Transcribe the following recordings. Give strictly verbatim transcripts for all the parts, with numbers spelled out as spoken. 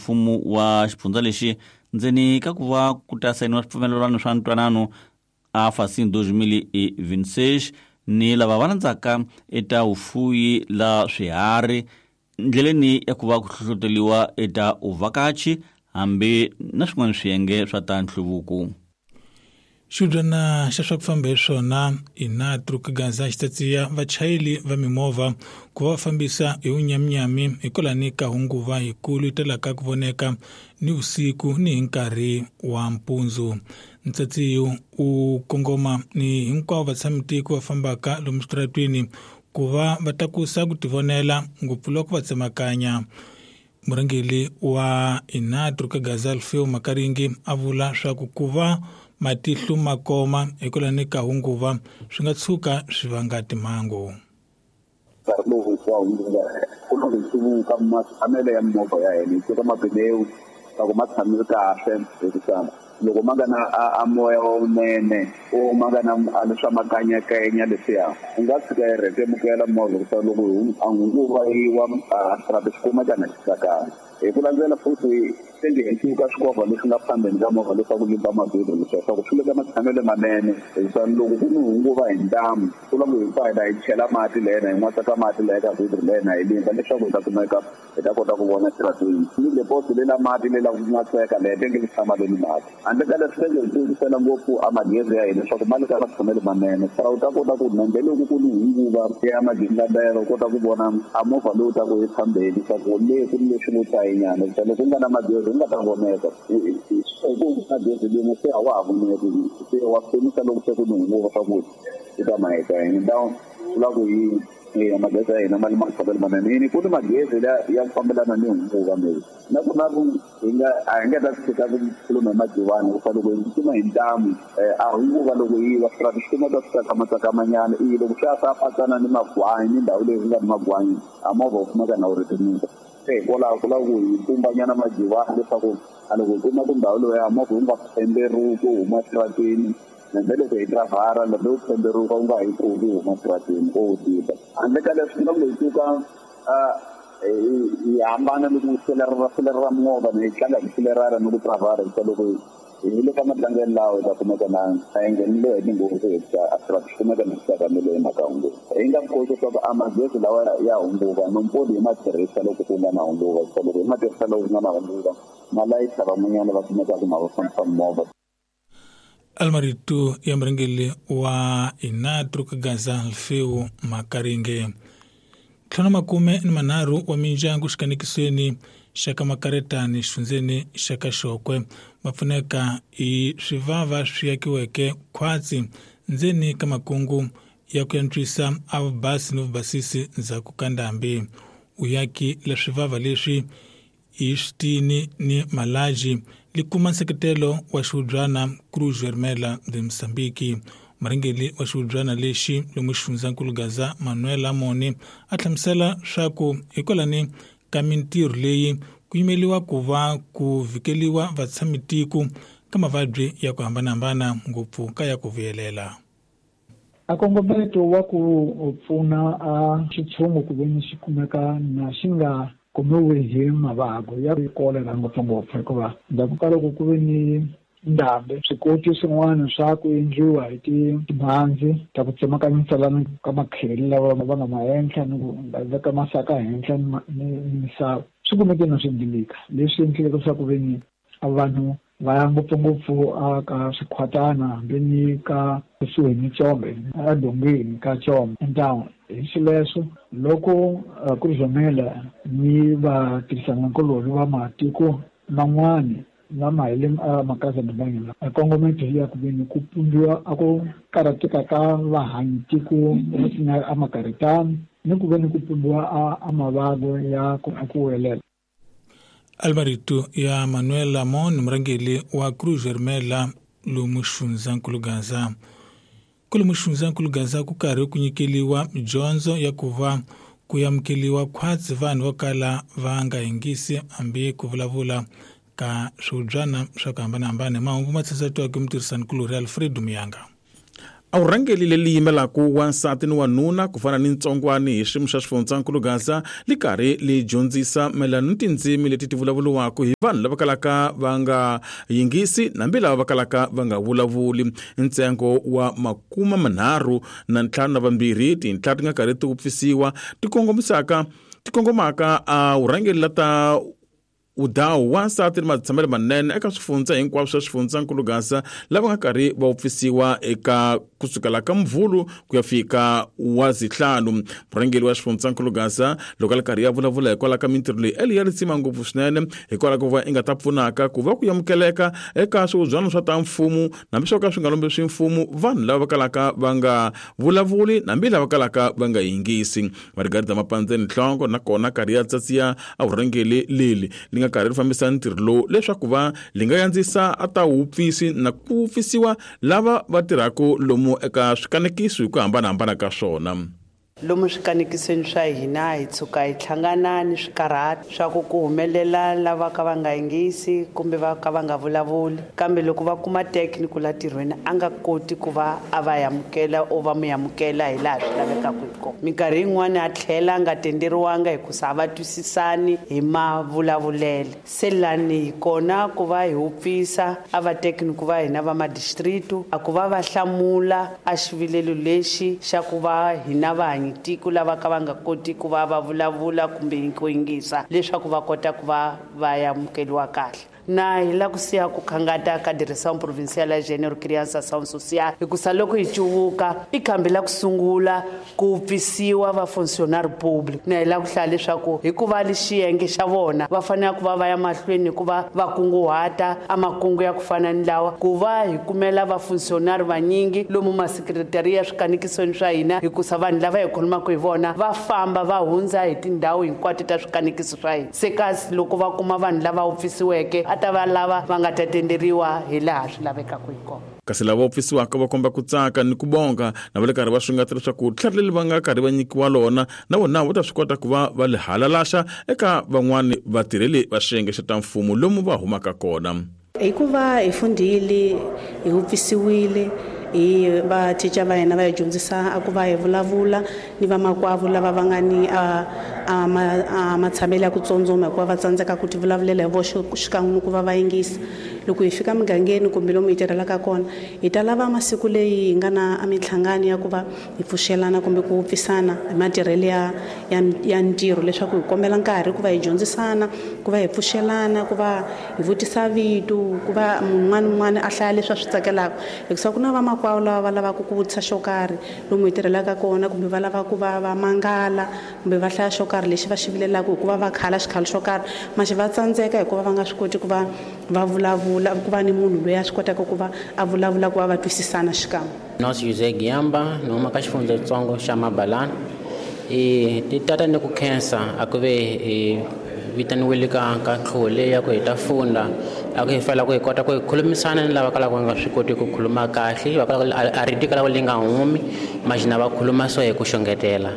Mfumo wa xifundza lexi ndzeni ka ku va ku ta sayiniwa swipfumelelwano swa ntwanano a Facim dois mil e vinte e seis ni lava va landzaka eta vufuyi la swiharhi ndleleni ya ku va ku hlohloteriwa eta uvhakachi hambi na swin'wana swiyenge swa ta nhluvuko. Xibyana xa swa ku famba hi swona Inatru Gaza xi tsatsiya vachayeri va mimovha ku va va fambisa hi vunyaminyami hikwalani ka hunguva yikulu yi talaka ku voneka ni vusiku ni hi nkarhi wa mpundzu. Ntsatsiyo u kongoma ni hinkwavo vatshamitiko va fambaka lomu switaratwini ku va va tlakusa ku tivonela ngopfu loko va tsemakanya. Murhangeri wa Inatru Gaza Alfeo Makaringi a vula swa ku ku va matihlo ma koma hikwalani ka hunguva swi nga tshuka swi vanga timhangu. Nkarhi lowu hinkwawo ku na ku hluvuka matshamelo ya mimovha ya hina hi teka mabilewu loko ma tshamile kahle hikuva loko ma nga na a moya lowunene o ma nga na leswa makanyakanya leswiya u nga tshika yi rhetemukela movha hikuva loko a hunguva yi wa a xirhato xi kumeka na xi tsakanga. Hi ku landzela futhi tenge hi tluka swikovha leswi nga phambeni ka movha leswaku limba mavhilwa leswaku swi le ka matshamelo manene hikuva loko ku ni hunguva hi ntamu ku lava hi pfa hi chela mati lena hi n'watsa ka mati leya ka vhilwa lena hi limba leswaku hi ta kumeka hi ta kota ku vona xirhatwini ni deposit lela mati lela ku n'watseka leya tenge li tshama leni mati handle ka leswi tenge hi tlukisela ngopfu a magezi ya hina leswaku ma le ka matshamelo manene sa u ta kota ku nambe loko ku ni hunguva ya magingabelo u kota ku vona a movha lowu ta ku ephambeni leswaku le ku ni leswi vo tsayinyana loko ku nga na magezi u nga ta voneka ku magezi limo se a wa ha voneki se wa pfunisa loko se ku ni hunguva swa ku u ta maheta hi ndhawu ku lava ku yi ya magezi ya hina ma le matshamelo manene yini ku ni magezi ya ku fambelana ni hunguva maybe na ku na ku hi nga a hi nga ta tshika ku khuluma hi majivani hikuva loko hi tsutsuma hi ntamu a hunguva loko yi wa swi swi kumeka swi tsakamatsakamanyana i loko swi ya swa patsana ni magwanyi ni ndhawu leyi ku nga ni magwanyi a movha wu kumeka na wu rhetemuka se hikwalaho ku lava ku hi pumbanyana majivani leswaku a loko hi kuma ku ndhawu leyi ya movha wu nga pemberuki wu huma xitarateni hambi loko hi driver loko wu pemberuka wu nga hi pfuki wu huma xitarateni o wu tiva handle ka leswi loko hi suka hi hambana ni ku selerera selerera movha ni hi tlanga hi selerera ni ku driver hikuva loko hi le ka matlangelo lawa hi ta kumeka na a hi nghenile hi tinghozi hikuva a swi kumeka na swi tsakamile hi mhaka hunguva hi nga koti leswaku a magezi lawa ya hunguva nompoli hi ma tirhisa loko ku nga na hunguva hikuva loko hi ma tirhisa loko ku nga na hunguva ma layisa van'wanyana va kumekaka ma va fambisa movha. Almarito ya murhangeri wa Inatru Gaza Alfeo Makaringe. Ntlhanu makume ni manharhu wa mindyangu xikanekisweni xa ka Makaretani xifundzeni xa ka Xokwe va pfuneka hi swivava swi akiweke khwatsi ndzeni ka makungu ya ku antswisa a vubasi ni vubasisi ndzhaku ka ndhambi. Uyaki la swivava leswi hi switini ni malaji li kuma nseketelo wa xihubyana Cruz Vermelha de Mozambique. Murhangeri wa xihubyana lexi lomu xifundzankulu Gaza Manuel Amoni a hlamusela swa ku hikwalani ka mintirho leyi ku yimeliwa ku va ku vhikeliwa vatshamitiko ka mavabyi ya ku hambanahambana ngopfu ka ya ku vuyelela. A kongometo wa ku pfuna a xitshungu ku ve ni xi kumeka na xi nga kumiwi hi mavabyi ya kolera ngopfungopfu hikuva ndzhaku ka loko ku ve ni ndhambi swikoti swin'wana swa ku endliwa hi timhandzi ta ku tsemakanyisa ka makheli lawa va nga ma henhla ni ku veka masaka henhla ni misava swi kumeke na swi endleka leswi endleke leswaku ve ni vanhu va ya ngopfungopfu a ka swikhwatana hambi ni ka kusuhi ni Chombe edongeni ka Chombe town. Hi xileswo loko Cruz Vermelha ni vatirhisanakulorhi va matiko man'wani lama hi le makaya mabanyana a kongometo ya ku veni ku pumbiwa a ku karhateka ka vahanyi tiko a Makaretani ni ku veni ku pumbiwa a a mavabyi ya ku ku welela. Almarito ya Manuel Amon murhangeri wa Cruz Vermelha lomu xifundzankulu Gaza. Kwalomu xifundzankulu Gaza ku karhi ku nyikeliwa dyondzo ya ku va ku amukeliwa khwatsi vanhu vo kala va nga yingisi hambi ku vulavula ka swihubyana swa ku hambanahambana. Mahungu ma tshatsatiwaka hi mutirhisanikulorhi Alfredo Muyanga. A vurhangeri leri yimelaka wansati ni wanuna ku fana ni ntsongwani hi xiyimo xa xifundzankulu Gaza li karhi li dyondzisa mayelana ni tindzimi leti ti vulavuriwaka hi vanhu lava kalaka va nga yingisi nambi lava va kalaka va nga vulavuli. Ntsengo wa makuma manharhu na ntlhanu na vambirhi tinhla ti nga karhi ti wupfisiwa ti kongomisaka ti kongomaka a vurhangeri la ta udawu wansati ni matshamelo manene eka swifundza hinkwaswo swa xifundzankulu Gaza lava nga karhi va wupfisiwa eka kusukela ka Mvhulu ku ya fika wa zihlanu. Murhangeri wa xifundzankulu Gaza loko a ri karhi ya vulavula hikwalaho ka mintirho leyi eli ya ritsima ngopfu swinene hikwalaho ko va i nga ta pfunaka ku va ku amukeleka eka swihubyana swa ta mfumo hambi swo ka swi nga lombi swi mfumo vanhu lava va kalaka va nga vulavuli hambi lava kalaka va nga yingisi. Margarita Mapandzeni Nhlongo nakona karhi ya tsatsiya a vurhangeri leli li nga karhi ri fambisa ntirho lowu leswaku va li nga yandzisa a ta wupfisi na ku wupfisiwa lava va tirhaka lomu eka swikanekiso hi ku hambanahambana ka swona. Lomu swikanekisweni swa hina hi tshuka hi hlangana ni swikarhati swa ku ku humelela lava ka va nga yingisi kumbe va ka va nga vulavuli, kambe loko va kuma technical la tirhweni a nga koti ku va a va amukela o va mu amukela hi laha swi lavekaka hi kona. Minkarhi yin'wani a tlhela a nga tenderiwanga hikusa a va twisisani hi mavulavulele. Se lani hi kona ku va hi wupfisa a va technical va hina va madistrict a ku va va hlamula a xivilelo lexi xa ku va hina va tiko lava ka va nga koti ku va va vulavula kumbe ku yingisa leswaku va kota ku va va amukeriwa kahle. Na hi la ku siya ku khangata ka Direção Provincial ya Gênero, Criança Ação Social hikusa loko hi cuvuka i khambi la ku sungula ku pfisiwa va funcionário público. Na hi la ku hlaya leswaku hikuva li xiyenge xa vona va fanele ku va va ya mahlweni ku va va kunguhata a makungu ya ku fana ni lawa ku va hi kumela va funcionário vanyingi lomu masekretariya swikanekisweni swa hina hikusa vanhu lava hi khulumaka hi vona va famba va hundza hi tindhawu hinkwato ta swikanekiso swa hina. Se kasi loko va kuma vanhu lava wupfisiweke a ta va lava va nga ta tenderiwa hi laha swi lavekaka hi kona. Kasi lava wupfisiwaka va komba ku tsaka ni ku bonga na va le karhi va swingata leswaku tlhari leri va nga karhi va nyikiwa lona na vona va ta swi kota ku va va li halalaxa eka van'wani vatirheli va xiyenge xa ta mfumo lomu va humaka kona. Hikuva hi fundile hi wupfisiwile hi va teacher va hina va hi dyondzisa a ku va hi vulavula ni vamakwavo lava va nga ni a a ma matshamelo ya ku tsundzuma hikuva va tsandzeka ku ti vulavulela hi voxe xikan'we ku va va yingisa. Loko hi fika mugangeni kumbe lomu hi tirhelaka kona hi ta lava masiku leyi hi nga na a minhlangano ya ku va hi pfuxelana kumbe ku wupfisana hi matirhelo ya ya ya ntirho leswaku hi kombela nkarhi ku va hi dyondzisana ku va hi pfuxelana ku va hi vutisa vito ku va munhu un'wana un'wana a hlaya leswi a swi tsakelaka hikusa ku na vamakwavo lava va lavaka ku vutisa xo karhi lomu hi tirhelaka kona kumbe va lava ku va va mangala kumbe va hlaya xo karhi lexi va xi vilelaka hikuva va khala xikhalo xo karhi maxi va tsandzeka hikuva va nga swi koti ku va va vulavula ku va ni munhu loyi a swi kotaka ku va a vulavula ku va va twisisana xikan'we. Nos Jose Giamba ni huma ka xifundzatsongo xa Mabalana. I ti tata ni ku khensa a ku ve hi vitaniwile ka ka tlhole ya ku hi ta funda a ku hi fela ku hi kota ku hi khulumisana ni lava kalaka va nga swi koti ku khuluma kahle va kalaka a rito kalaka li nga humi maxina va khuluma so hi ku xongetela.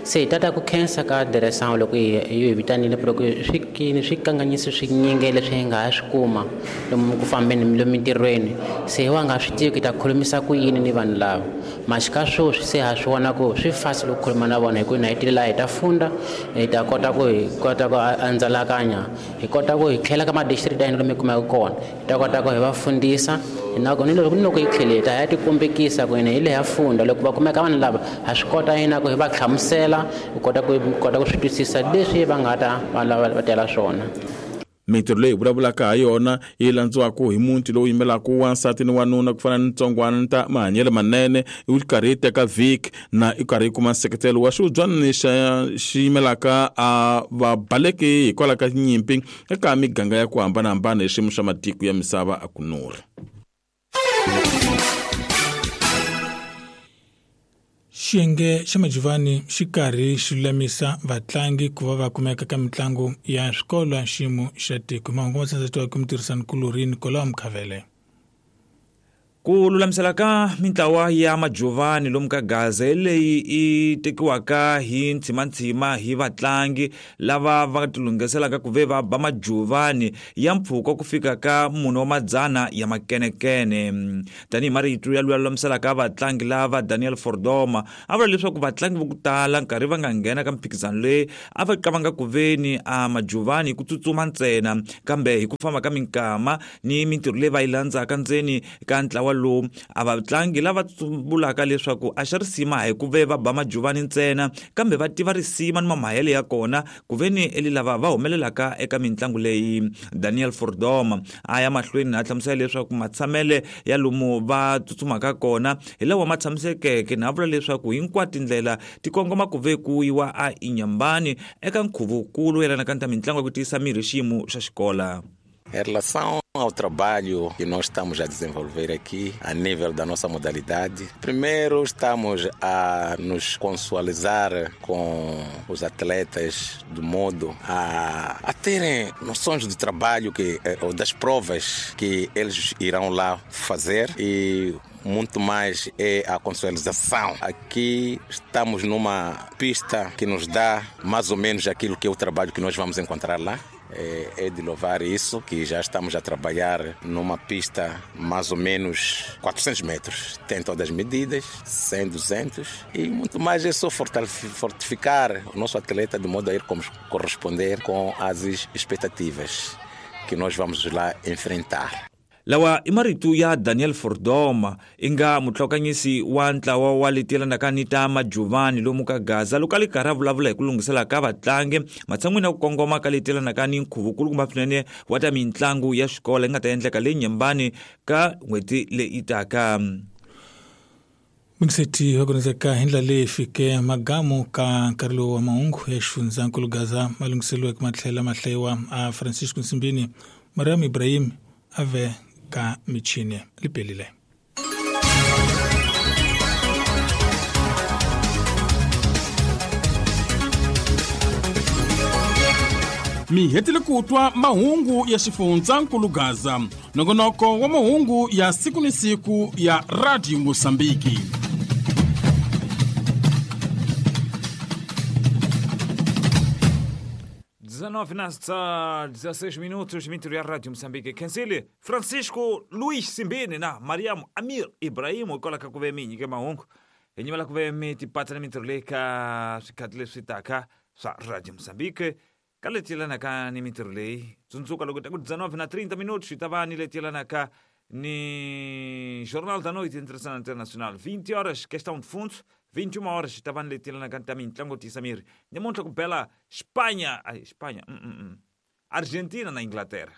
Se hi tata ku khensa ka Direção loko hi hi vitanile ku swi swi kanganyisi swinyingi leswi hi nga ha swi kuma lomu ku fambeni lomu mintirhweni se hi wa nga swi tivi ku hi ta khulumisa ku yini ni vanhu lava maxi ka sweswi se ha swi vona ku swi fasi loko khuluma na vona hi ku na hi tile laha hi ta funda hi ta kota ku hi kota ku andzalakanya hi kota ku hi tlhela ka ma-district ya hina lomu hi kumaka kona hi ta kota ku hi va fundisa ni loko ni loko hi tlhele hi ta ya tikombekisa ku hina hi le ha funda loko va kumeka vanhu lava ha swi kota hina ku hi va hlamusela hi kota ku kota ku swi twisisa leswi va nga ta va lava va tela swona. Mintirho leyi vulavulaka ha yona yi landziwaka hi muti lowu yimelaka wansati ni wanuna ku fana ni ntsongwana ta mahanyelo manene yi karhi yi teka vhiki na i karhi yi kuma nseketelo wa xihubyana xa xi yimelaka a vabaleki hikwalaho ka nyimpi eka miganga ya ku hambanahambana hi xiyimo xa matiko ya misava a ku nuri. Xiyenge xa Majivani xi karhi xi lulamisa vatlangi ku va va kumeka ka mitlangu ya swikolo ya xiyimo xa tiko. Mahungu ma tsandzetiwa ku mutirhisani-kulorhi Nicolau Mkhavele. Ku lulamisela ka mintlawa ya majuvani lomu ka Gaza leyi i tekiwaka hi ntshimanthsima hi vatlangi lava va tilunghiselaka ku ve va ba majuvani ya mpfhuka ku fika ka mune wa madzana ya makenekene. Tanihi marito ya luya lulamiselaka vatlangi lava Daniel Fordoma a vula leswaku vatlangi vo ku tala nkarhi va nga nghena ka mphikizano leyi a va qavanga ku veni a majuvani hi ku tsutsuma ntsena, kambe hi ku famba ka minkama ni mintirho leyi va yi landzaka ndzeni ka ntlawa lowu a vatlangi lava vulaka leswaku a xa risima hi ku ve va ba majuvani ntsena, kambe va tiva risima ni mamahele ya kona ku ve ni eli lava va humelelaka eka mitlangu leyi. Daniel Fordoma a ya mahlweni a hlamusela leswaku matshamele ya lomu va tsutsumaka kona hi lawa ma tshamisekeke, na vula leswaku hinkwato tindlela ti kongoma ku ve ku yiwa a Inyambani eka nkhuvukulu yelanaka ni ta mitlangu ya ku tiyisa miri xiyimo xa xikola. Em relação ao trabalho que nós estamos a desenvolver aqui a nível da nossa modalidade, primeiro estamos a nos consualizar com os atletas de modo a, a terem noções do trabalho que, ou das provas que eles irão lá fazer, e muito mais é a consualização. Aqui estamos numa pista que nos dá mais ou menos aquilo que é o trabalho que nós vamos encontrar lá. É de louvar isso, que já estamos a trabalhar numa pista mais ou menos quatrocentos metros. Tem todas as medidas, cem, duzentos, e muito mais é só fortificar o nosso atleta de modo a ir corresponder com as expectativas que nós vamos lá enfrentar. Lawa i marito ya Daniel Fordoma i nga mutlhokanyisi wa ntlawa wa leti yelanaka ni ta majuvani lomu ka Gaza loko a li karhi a vulavula hi ku lunghisela ka vatlangi matshan'wini ya ku kongoma ka leti yelanaka ni nkhuvukulukumba swinene wa ta mitlangu ya xikolo yi nga ta endleka le Nyambani ka n'hweti leyi taka. Mingiseti wa kunezeka hi ndlela leyi fike magamu ka nkarhi lowu wa mahungu ya xifundzankulu Gaza ma lunghiseriweke ma tlhela ma hlayiwa a Francisco Nsimbini, Mariam Ibrahim ave ka michini lipelile. Mi hetile ku twa mahungu ya xifundzankulu Gaza, nongonoko wa mahungu ya siku ni siku ya Radio Mosambiki. dezenove nas dezesseis minutos, minto ya Radio Moçambique. Kensile Francisco Luís Simbini na Mariam Amir Ibrahim kola ka kuve minyi ke mahungu. Hi nyimela kuve mi tipata na mintirho leyi ka swikhathi leswi taka swa Radio Moçambique. Ka leti yelanaka ni mintirho leyi, tsundzuka loko ta ku dezenove na trinta minutos yi ta va ni leti yelanaka ni Jornal da Noite Internacional Internacional. vinte horas, questão de fundo. vinte e uma horas, estava na letra na canta mintlango Tisamir. Namuntlha ku bela Espanha, ai Espanha, mm, mm, mm. Argentina na Inglaterra.